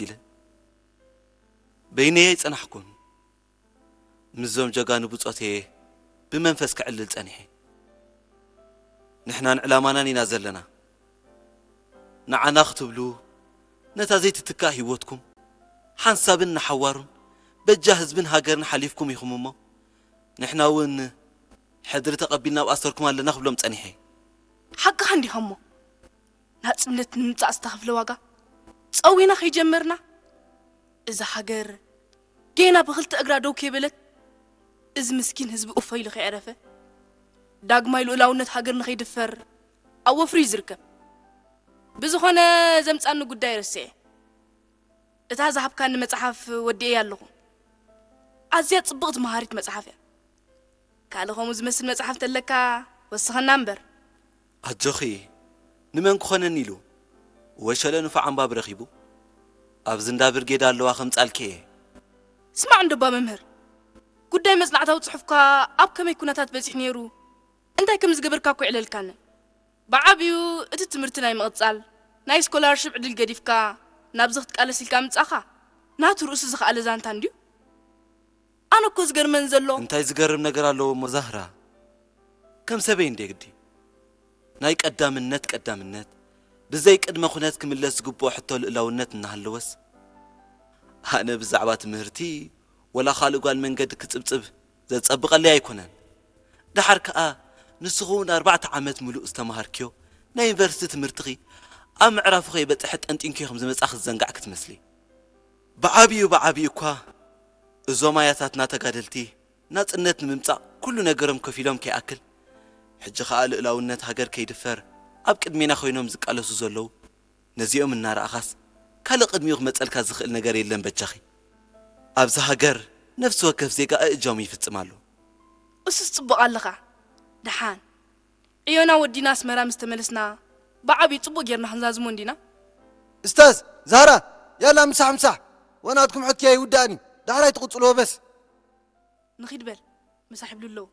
ኢለ በይነየ ኣይጸናሕኩን። ምስዞም ጀጋኑ ብጾተየ ብመንፈስ ክዕልል ጸኒሐ። ንሕናን ዕላማናን ኢና ዘለና። ንዓና ክትብሉ ነታ ዘይትትካእ ህይወትኩም ሓንሳብን ንሓዋሩን በጃ ህዝብን ሃገርን ሓሊፍኩም ኢኹም እሞ፣ ንሕና እውን ሕድሪ ተቐቢልና ኣብ ኣሰርኩም ኣለና ክብሎም ጸኒሐ። ሓቅኻ እንዲኻ እሞ፣ ናጽነት ንምምጻእ ዝተኸፍለ ዋጋ ጸዊና ከይጀመርና፣ እዛ ሃገር ጌና ብኽልተ እግራ ደው ከይበለት፣ እዚ ምስኪን ህዝቢ ኡፍ ኢሉ ከየዕረፈ፣ ዳግማይ ልኡላውነት ሃገር ንኸይድፈር ኣብ ወፍሪ እዩ ዝርከብ። ብዝኾነ፣ ዘምጻኒ ጉዳይ ረስዐ። እታ ዝሃብካኒ መጽሓፍ ወዲኤያ ኣለኹ። ኣዝያ ጽብቕቲ መሃሪት መጽሓፍ እያ። ካልእ ከምኡ ዝመስል መጽሓፍ ተለካ ወስኸና እምበር። ኣጆኺ፣ ንመን ክኾነኒ ኢሉ ወሸለ ንፉዕ ኣንባቢ ረኺቡ ኣብዚ እንዳ ብርጌድ ኣለዋ ከምጻልኪ እየ። ስማዕ እንዶ እባ መምህር፣ ጉዳይ መጽናዕታዊ ጽሑፍካ ኣብ ከመይ ኩነታት በጺሑ ነይሩ እንታይ ከም ዝገበርካ እኮ ይዕለልካኒ። ብዓብዩ እቲ ትምህርቲ ናይ ምቕጻል ናይ ስኮላርሽፕ ዕድል ገዲፍካ ናብዚ ክትቃለስ ኢልካ ምጻኻ ናቱ ርእሱ ዝኸኣለ ዛንታ እንድዩ። ኣነ እኮ ዝገርመን ዘሎ እንታይ ዝገርም ነገር ኣለዎ እሞ ዛህራ? ከም ሰበይ እንዴ ግዲ ናይ ቀዳምነት ቀዳምነት ብዘይ ቅድመ ኩነት ክምለስ ዝግብኦ ሕቶ ልእላውነት እናሃለወስ ኣነ ብዛዕባ ትምህርቲ ወላ ካልእ ጓል መንገዲ ክጽብጽብ ዘጸብቐለይ ኣይኮነን። ደሓር ከኣ ንስኺ እውን ኣርባዕተ ዓመት ምሉእ ዝተማሃርክዮ ናይ ዩኒቨርሲቲ ትምህርትኺ ኣብ ምዕራፉ ከይበጽሐ ጠንጢንክዮ ከም ዝመጻኺ ዝዘንጋዕኪ ትመስሊ። ብዓብዩ ብዓብዩ እኳ እዞም ኣያታትና ተጋደልቲ ናጽነት ንምምጻእ ኩሉ ነገሮም ከፊሎም ከይኣክል ሕጂ ከኣ ልእላውነት ሃገር ከይድፈር ኣብ ቅድሜና ኮይኖም ዝቃለሱ ዘለዉ ነዚኦም እናረኣኻስ ካልእ ቅድሚኡ ክመጸልካ ዝኽእል ነገር የለን በጃኺ። ኣብዚ ሃገር ነፍሲ ወከፍ ዜጋ እእጃሙ ይፍጽም ኣሎ። እሱስ ጽቡቕ ኣለኻ። ደሓን ዕዮና ወዲና ኣስመራ ምስ ተመለስና ብዓብዩ ጽቡቕ ጌርና ክንዛዝሞ እንዲና። እስታዝ ዛህራ ያላ ምሳሕ ምሳሕ ወናትኩም ሕክያ ይውዳእኒ ዳሕራይ ትቕጽልዎ በስ። ንኺድ በል ምሳሕ ይብሉ ኣለዉ።